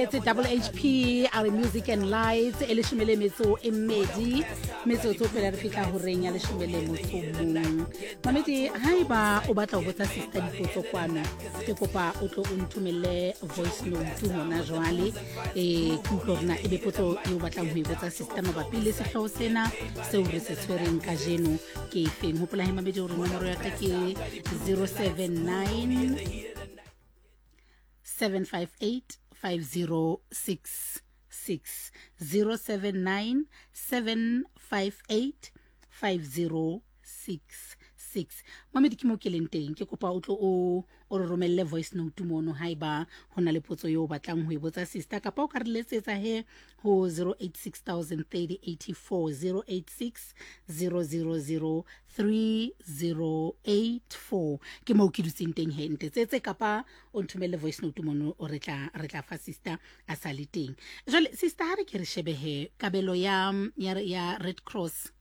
It's double HP a re music and lights e leshome le metso e mmedi metsotso pele re fihla horeng ya leshome le motso mong. Mamedi, haeba o batla ho botsa sister dipotso kwano, ke kopa o tlo o nthomelle voice note hona jwale, ke utlwe hore na ebe potso e o batlang ho e botsa sister mabapi le sehlooho sena seo re se tshwereng kajeno ke efeng. Hopola he mamedi hore nomoro ya ka ke 079 758 5066 079 758 5066. Mamedi, ke mo ke leng teng, ke kopa o tlo o o re romelle voice note mono haeba ho na le potso eo o batlang ho e botsa sister, kapa o ka re letsetsa he ho 086 030 086 000 3084. Ke moo ke dutseng teng he, ntetsetse kapa o nthomelle voice note mono, o re tla re tla fa sister a sa le teng. Jwale sister, ha re ke re shebe he kabelo ya ya ya Red Cross,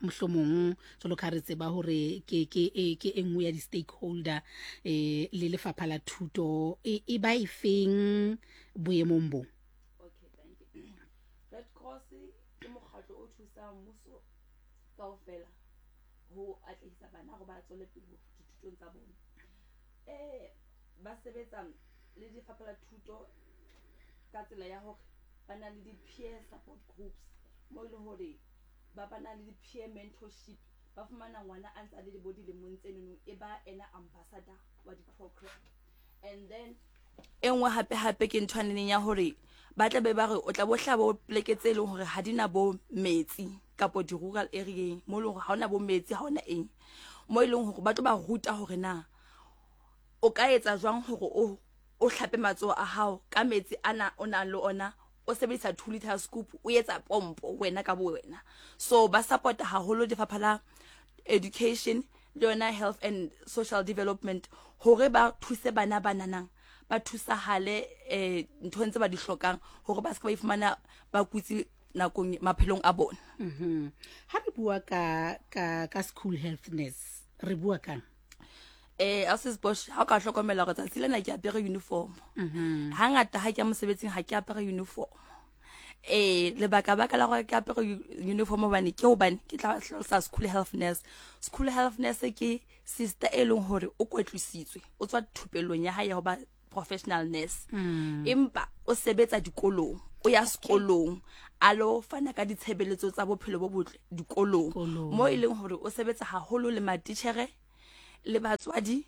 mohlomong jwalo ka re tseba hore ke ke e ke e nngwe ya di-stakeholder le lefapha la thuto, e ba e feng boemong bo? Okay, thank you. Red Cross ke mokgatlo o thusang mmuso kaofela ho atlehisa bana hore ba tswele pele dithutong tsa bona. Ba sebetsa le lefapha la thuto ka tsela ya hore ba na le di-peer support groups, mo e leng hore ba ba na le di-peer mentorship. Ba fumana ngwana a ntse a le bo dilemong tsenono, e ba ena ambassador wa di-program. And then e nngwe hape hape ke ntho aneneng ya hore ba tla be ba re o tla bo hlaba bo pleke tse leng hore ha di na bo metsi kapo di-rural area mo e leng hore ha ona bo metsi, ha ona eng, mo e leng hore ba tlo ba ruta hore na o ka etsa jwang hore o o hlape matsoho a hao ka metsi ana o nang le ona, o sebedisa 2 liter scoop, o etsa pompo wena ka bo wena. So ba support haholo lefapha la education le yona health and social development hore ba thuse bana ba nanang, ba thusahale nthong tse ba di hlokang hore ba se ke ba ifumana ba kutse nakong maphelong a bona. Ha re bua ka ka ka school health nurse, re bua kang? Ausi Bosch, ha o ka hlokomela hore tsatsi lena ke apere uniform. Hangata ha ke ya mosebetsing ha ke apere uniform. Lebaka baka la hore ke apere uniform hobane ke hobane ke tla hlalosa school health nurse. School health nurse ke sister e leng hore o kwetlisitswe, o tswa thupellong ya hae ya ho ba professional nurse. Empa o sebetsa dikolong, o ya sekolong a lo fana ka ditshebeletso tsa bophelo bo botle dikolong, mo e leng hore o sebetsa haholo le matitjhere le batswadi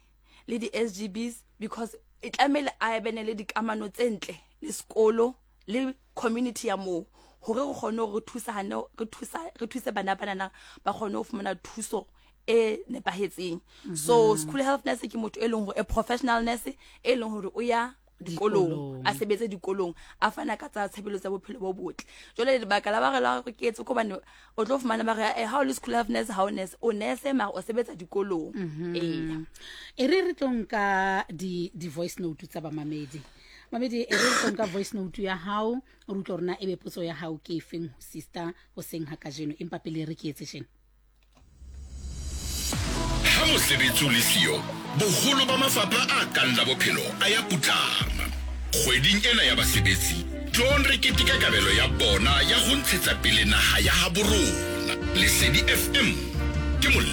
le di-S G Bs, because e tlamehile a bene le dikamano tse ntle le sekolo le community ya moo, hore re kgone hore re thusane, re thusa, re thuse bana ba nana ba kgone ho fumana thuso e nepahetseng. So school health nurse ke motho e leng hore a professional nurse e leng hore o ya dikolong, a sebetse dikolong, a fana ka tsa tshebeletso tsa bophelo bo botle. Jwale lebaka la ba re la ke etse ko hobane o tlo fumana ba re, ha o le school health nurse, ha o nurse, o nurse mara o sebetsa dikolong. Ee. E re re tlo nka di voice note tsa bamamedi. Mamedi, e re re tlo nka voice note ya hao, re utlwe hore na ebe potso ya hao ke efeng ho sister hoseng ha kajeno, empa pele re ke etse tjena. Ha mosebetsi o le siyo, boholo ba mafapha a kang la bophelo a ya putlama. Kgweding ena ya basebetsi, tloong re keteke kabelo ya bona ya ho ntshetsa pele naha ya habo rona. Lesedi FM ke molemo.